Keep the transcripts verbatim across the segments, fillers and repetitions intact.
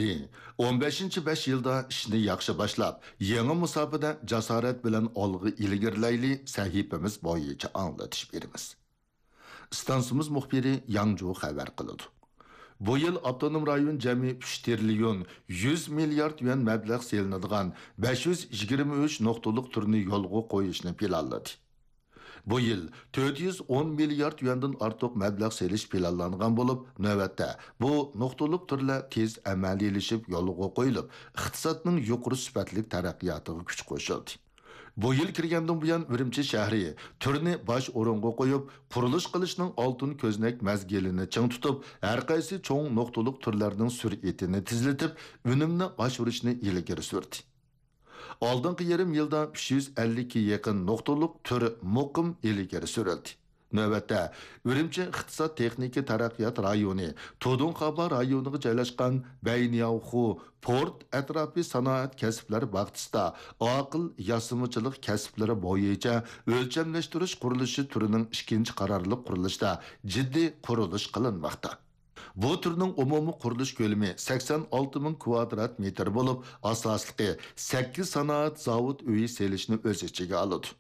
دى. ئون بەشىنچى بەش يىلدا ئىشنى ياخشى باشلاپ، يېڭى مۇساپىدە جاسارەت بىلەن ئالغا ئىلگىرىلەيلى سەھىپىمىز بويىچە ئاڭلىتىش بېرىمىز. ئىستانسىمىز مۇخبىرى ياڭجۇ خەۋەر قىلىدۇ. بۇ يىل ئاپتونوم رايون جەمئىي ئۈچ تىرىليون يۈز مىليارد يۈەن مەبلەغ سېلىنىدىغان بەش يۈز يىگىرمە ئۈچ نۇقتىلىق تۈرنى يولغا قويۇشنى پىلانلىدى. بۇ يىل تۆت يۈز ئون مىليارد يۈەندىن ئارتۇق مەبلەغ سېلىش پىلانلانغان بولۇپ، نۆۋەتتە بۇ نۇقتىلىق تۈرلەر تېز ئەمەلىيلىشىپ يولغا قويۇلۇپ، ئىقتىسادنىڭ يۇقىرى سۈپەتلىك تەرەققىياتىغا كۈچ قوشۇلدى. بۇ يىل كىرگەندىن بۇيان، ئۈرۈمچى شەھىرى تۈرنى باش ئورۇنغا قويۇپ، قۇرۇلۇش قىلىشنىڭ ئالتۇن كۆزنەك مەزگىلىنى چىڭ تۇتۇپ، ھەرقايسى چوڭ نۇقتىلىق تۈرلەرنىڭ سۈرئىتىنى تېزلىتىپ، ئۈنۈمنى ئاشۇرۇشنى ئىلگىرى سۈردى. ئالدىنقى يېرىم يىلدا ئۈچ يۈز ئەللىككە يېقىن نۇقتىلىق تۈر مۇقىم ئىلگىرى سۈرۈلدى. نۆۋەتتە، ئۈرۈمچى ئىقتىساد تېخنىكا تەرەققىيات رايونى، تۇدۇڭخابا رايونىغا جايلاشقان بەينياۋخۇ پورت ئەتراپى سانائەت كەسىپلەر باغچىسىدا ئاقىل ياسىمىچىلىق كەسىپلىرى بويىچە ئۆلچەملەشتۈرۈش قۇرۇلۇشى تۈرىنىڭ ئىككىنچى قارارلىق قۇرۇلۇشىدا جىددىي قۇرۇلۇش قىلىنماقتا. بۇ تۈرنىڭ ئومۇمىي قۇرۇلۇش كۆلىمى سەكسەن ئالتە مىڭ كۋادرات مېتىر بولۇپ، ئاساسلىقى سەككىز سانائەت زاۋۇت ئۆيى سېلىشنى ئۆز ئىچىگە ئالىدۇ.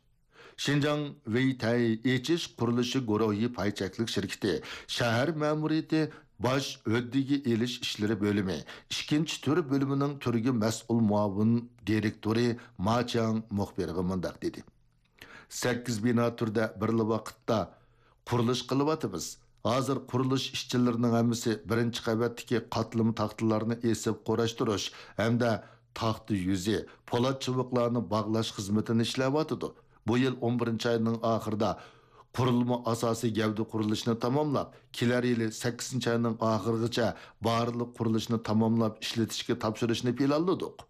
شىنجاڭ ۋېيتەي ئېچىش قۇرۇلۇشى گۇرۇھى پاي چەكلىك شىركىتى شەھەر مەمۇرىيىتى باش ھۆددىگە ئېلىش ئىشلىرى بۆلۈمى ئىككىنچى تۈر بۆلۈمىنىڭ تۈرگە مەسئۇل مۇئاۋىن دىرېكتورى ما چياڭ مۇخبىرغا مۇنداق دېدى: سەككىز بىنا تۈردە بىرلا ۋاقىتتا قۇرۇلۇش قىلىۋاتىمىز. ھازىر قۇرۇلۇش ئىشچىلىرىنىڭ ھەممىسى بىرىنچى قەۋەتتىكى قاتلىما تاختىلارنى ئېسىپ قۇراشتۇرۇش ھەمدە تاختا يۈزى، پولات چىۋىقلارنى باغلاش خىزمىتىنى ئىشلەۋاتىدۇ. بۇ يىل ئون بىرىنچى ئاينىڭ ئاخىرىدا قۇرۇلما ئاساسىي گەۋدە قۇرۇلۇشىنى تاماملاپ، كېلەر يىلى سەككىزىنچى ئاينىڭ ئاخىرىغىچە بارلىق قۇرۇلۇشنى تاماملاپ ئىشلىتىشكە تاپشۇرۇشنى پىلانلىدۇق.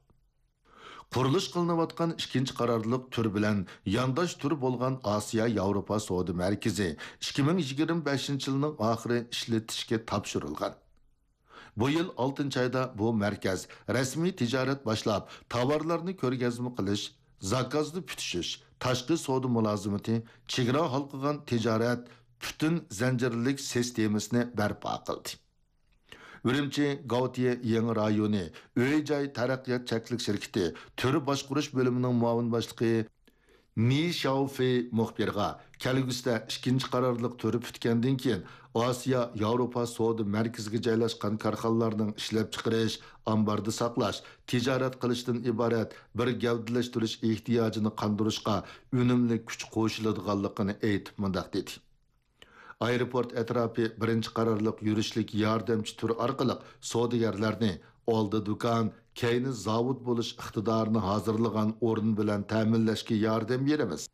قۇرۇلۇش قىلىنىۋاتقان ئىككىنچى قارارلىق تۈر بىلەن يانداش تۈر بولغان ئاسىيا ياۋروپا سودا مەركىزى ئىككى مىڭ يىگىرمە بەشىنچى يىلنىڭ ئاخىرى ئىشلىتىشكە تاپشۇرۇلغان. بۇ يىل ئالتىنچى ئايدا بۇ مەركەز رەسمىي تىجارەت باشلاپ، تاۋارلارنى كۆرگەزمە قىلىش، زاكازنى پۈتۈشۈش، تاشقى سودا مۇلازىمىتى، چېگرا ھالقىغان تىجارەت پۈتۈن زەنجىرلىك سىستېمىسىنى بەرپا قىلدى. ئۈرۈمچى گاۋتىيە يېڭى رايونى ئۆي-جاي تەرەققىيات چەكلىك شىركىتى تۈر باشقۇرۇش بۆلۈمىنىڭ مۇئاۋىن باشلىقى نى شياۋفېي مۇخبىرغا، كەلگۈسىدە ئىككىنچى قارارلىق تۈرى پۈتكەندىن كېيىن، ئاسىيا ياۋروپا سودا مەركىزىگە جايلاشقان كارخانىلارنىڭ ئىشلەپچىقىرىش، ئامباردا ساقلاش، تىجارەت قىلىشتىن ئىبارەت بىر گەۋدىلەشتۈرۈش ئېھتىياجىنى قاندۇرۇشقا ئۈنۈملۈك كۈچ قوشۇلىدىغانلىقىنى ئېيتىپ مۇنداق دېدى: ئايروپورت ئەتراپى بىرىنچى قارارلىق يۈرۈشلۈك ياردەمچى تۈر ئارقىلىق سودىگەرلەرنى ئالدى دۇكان، كەينى زاۋۇت بولۇش ئىقتىدارىنى ھازىرلىغان ئورۇن بىلەن تەمىنلەشكە ياردەم بېرىمىز.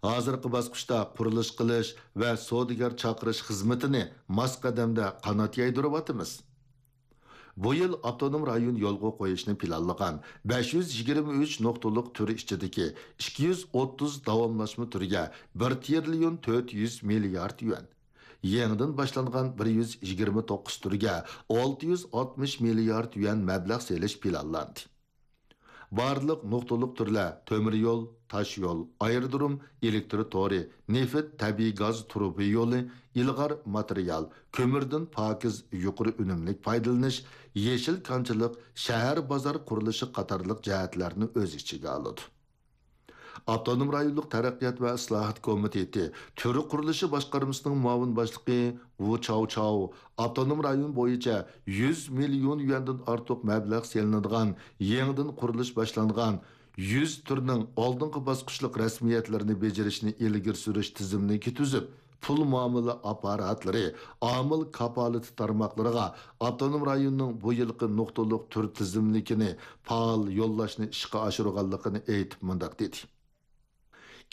ھازىرقى باسقۇچتا قۇرۇلۇش قىلىش ۋە سودىگەر چاقىرىش خىزمىتىنى ماس قەدەمدە قانات يايدۇرۇۋاتىمىز. بۇ يىل ئاپتونوم رايون يولغا قويۇشنى پىلانلىغان بەش يۈز يىگىرمە ئۈچ نۇقتىلىق تۈر ئىچىدىكى ئىككى يۈز ئوتتۇز داۋاملاشما تۈرگە بىر تىرىليون تۆت يۈز مىليارد يۈەن، يېڭىدىن باشلانغان بىر يۈز يىگىرمە توققۇز تۈرگە ئالتە يۈز ئاتمىش مىليارد يۈەن مەبلەغ سېلىش پىلانلاندى. بارلىق نۇقتىلىق تۈرلەر تۆمۈر يول، تاش يول، ئايرودروم، ئېلېكتر تورى، نېفىت، تەبىئىي گاز تۇرۇبا يولى، ئىلغار ماتېرىيال، كۆمۈردىن پاكىز، يۇقىرى ئۈنۈملۈك پايدىلىنىش، يېشىل كانچىلىق، شەھەر بازار قۇرۇلۇشى قاتارلىق جەھەتلەرنى ئۆز ئىچىگە ئالىدۇ. ئاپتونوم رايونلۇق تەرەققىيات ۋە ئىسلاھات كومىتېتى تۈر قۇرۇلۇشى باشقارمىسىنىڭ مۇئاۋىن باشلىقى ۋۇ چاۋچاۋ ئاپتونوم رايون بويىچە يۈز مىليون يۈەندىن ئارتۇق مەبلەغ سېلىنىدىغان يېڭىدىن قۇرۇلۇش باشلانغان يۈز تۈرنىڭ ئالدىنقى باسقۇچلۇق رەسمىيەتلىرىنى بېجىرىشنى ئىلگىرى سۈرۈش تىزىملىكى تۈزۈپ، پۇل مۇئامىلە ئاپپاراتلىرى، ئامىل كاپالىتى تارماقلىرىغا ئاپتونوم رايوننىڭ بۇ يىلقى نۇقتىلىق تۈر تىزىملىكىنى پائال يوللاشنى ئىشقا ئاشۇرغانلىقىنى ئېيتىپ مۇنداق دېدى: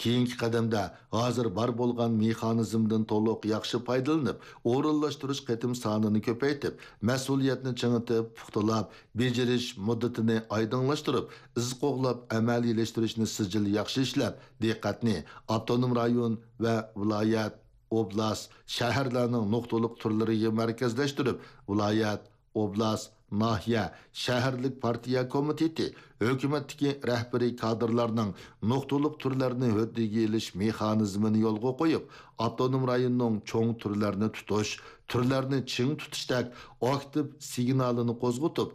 كېيىنكى قەدەمدە ھازىر بار بولغان مېخانىزمدىن تولۇق ياخشى پايدىلىنىپ، ئورۇنلاشتۇرۇش قېتىم سانىنى كۆپەيتىپ، مەسئۇلىيەتنى چىڭىتىپ، پۇختىلاپ، بېجىرىش مۇددىتىنى ئايدىڭلاشتۇرۇپ، ئىز قوغلاپ ئەمەلىيلەشتۈرۈشنى سىجىل ياخشى ئىشلەپ، دىققەتنى ئاپتونوم رايون ۋە ۋىلايەت، ئوبلاست، شەھەرلەرنىڭ نۇقتىلىق تۈرلىرىگە مەركەزلەشتۈرۈپ، ۋىلايەت، ئوبلاست، ناھىيە، شەھەرلىك پارتىيە كومىتېتى، ھۆكۈمەتتىكى رەھبىرىي كادىرلارنىڭ نۇقتىلىق تۈرلەرنى ھۆددىگە ئېلىش مېخانىزمىنى يولغا قويۇپ، ئاپتونوم رايوننىڭ چوڭ تۈرلەرنى تۇتۇش، تۈرلەرنى چىڭ تۇتۇشتەك ئاكتىپ سىگنالىنى قوزغىتىپ،